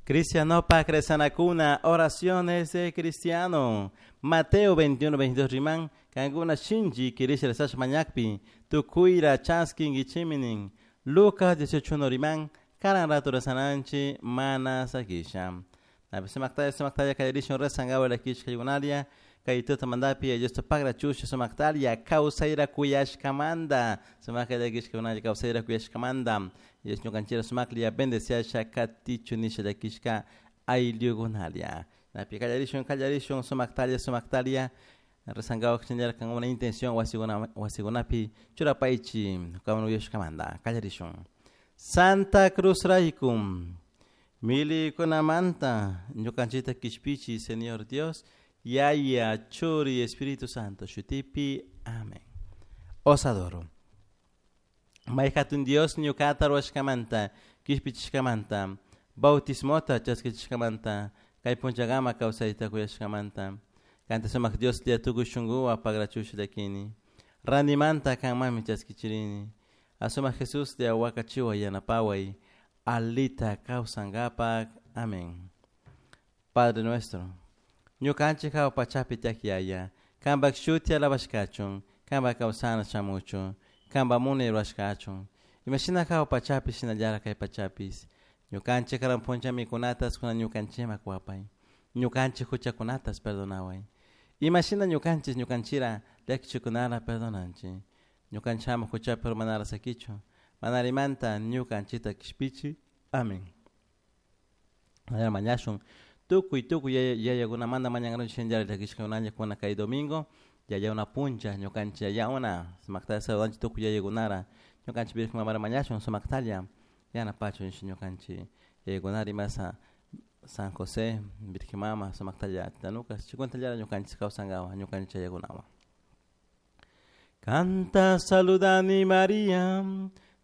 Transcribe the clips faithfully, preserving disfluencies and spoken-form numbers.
Cristianopak rezanakuna, oraciones de cristiano. Mateo veintiuno, veintidós riman, kankuna shinchi kirisha rezash mañakpi, tukuyra chaskinkichiminin. Lucas dieciocho uno riman, karan rato rezananchi mana sakisha. Napi sumaktaya, sumaktaya kallarishun rezangawa lakishka yugunalia, kay tuta mandapi, Dios pagra chusha sumaktalia, kawsayra kuyashkamanta, sumakta llakishka kawsayra kuyashkamanta, Dios ñukanchira sumaklia bendeciasha katichu nisha llakishka ayllukunalia. Napi kallarishun, kallarishun sumaktalia, sumaktalia, rezangawa kachinllara kan una intención wasiguna, wasigunapi churapaychi kawan uyashkamanta, kallarishun. Santa Cruz raykum, milikunamanta, ñukanchita kishpichi, Señor Dios, Yaya, Churi, Espíritu Santo, Shutipi, amén. Os adoro. Mayhatun Dios ñukata ruwashkamanta, kishpichishkamanta, bautismota chaskichishkamanta, kay punchagama kawsayta kuyashkamanta, kanta sumak Dios lia tukuy shunkuwa pagrachusha llakini, randimanta kanmanmi chaskichirini, asumak Jesús lia wakachiwa yanapaway, alita kawsankapak, amén. Padre nuestro, ñukanchik hawa pachapi tiyak yaya, kanpak shuti alabashkachun, kanpak kawsana shamuchun, kanpak munay rurashkachun, imashina hawa pachapi shinallara kay pachapis, ñukanchik karan puncha mikunatas kuna ñukanchikman kuwapay, ñukanchik huchakunatas perdonaway, imashina ñukanchik ñukanchira llakichikunara perdonanchik, ñukanchama huchapi urmanara sakichu, manarimanta ñukanchikta kishpichi, amén. Mañana mañashun, tukuy tukuy yayakunamanta mañankaranchik shinallara llakishkakunalla kuna kay domingo, yaya una puncha ñukanchik yaya una sumaktalla saludanchik tukuy yayakunara, ñukanchik Virgen Mamara mañashun sumaktalla yanapachun ñukanchik yayakunara imasa San José, Virgen Mama, sumaktalla titanukas, chikuntalla ñukanchik kawsankawa ñukanchik yayakunawan. Canta saludani María,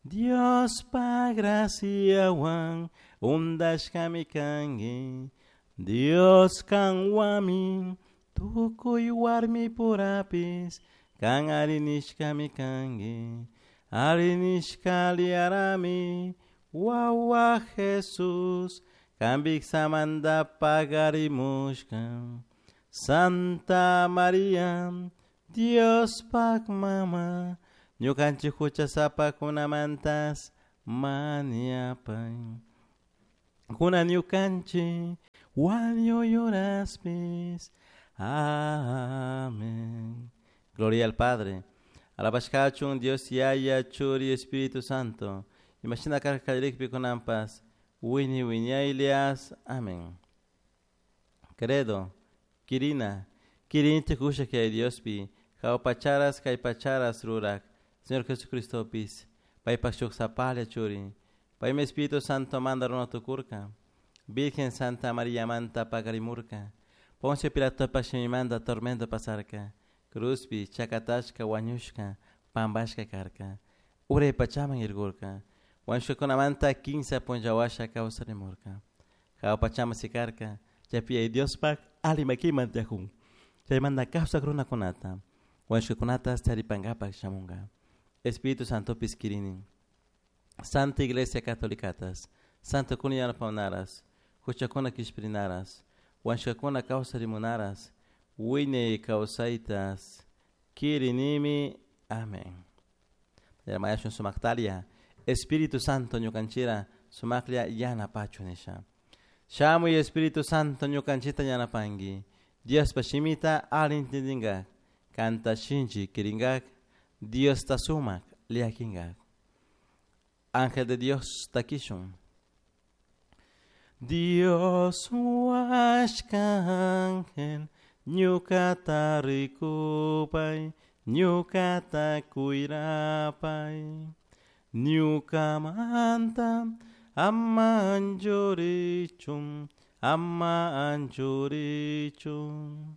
Dios pa graciawan, undashkami kanki, Dios kanwami, tukuy warmi purapis, kan arinishkami kanki, arinishka liarami, wawa Jesús, kanpik samanta pagarimushka. Santa María, Dios pak mama, ñukanchik huchasapakunamantas mañapay. Kuna ñukanchik wañuyuraspis. Amén. Gloria al Padre. Alabashkachun Dios Yaya, Churi, Espíritu Santo. Imashina karkallikpi kunanpas, wiñay wiñaylias. Amén. Credo, Kirina, kirinchik ushak Yaya Diospi, hawa pacharas kay pacharas rurak, Señor Jesucristopis, paypak shuk sapalla churi, paymi Espíritu Santo manda runa tukurka, Virgen Santa María manta pakarimurka, Poncio Pilatopak shimimanta tormento pasarka, cruzpi chakatashka wañushka, pampashka karka, uray pachaman irkurka, wañushkakunamanta kimsa punlla washa kawsarimurka, hawa pachaman sikarka, chaypi Yaya Diospak alli makiman tiyakun, chaymanta kawsak runakunata, wañushkakunatas charipankapak shamunka. Espíritu Santopis kirini, Santa Iglesia Catolicatas, Santo kuna yanapawnaras, huchakuna kishpirinaras, wañushkakuna kawsarimunaras, wiñay kawsaytas kirinimi. Amén. Mañashun sumaktalia, Espíritu Santo ñukanchira sumaklla yanapachu nisha. Shamuy Espíritu Santo ñukanchita yanapanki, Diospa shimita alli entendingak, kanta shinchi kiringak, Diosta sumak llakinkak. Ángel de Dios takishun. Dios huashka ángel, ñukata rikupay, ñukata kuyrapay, ñukamanta ama anchurichun, ama anchurichun.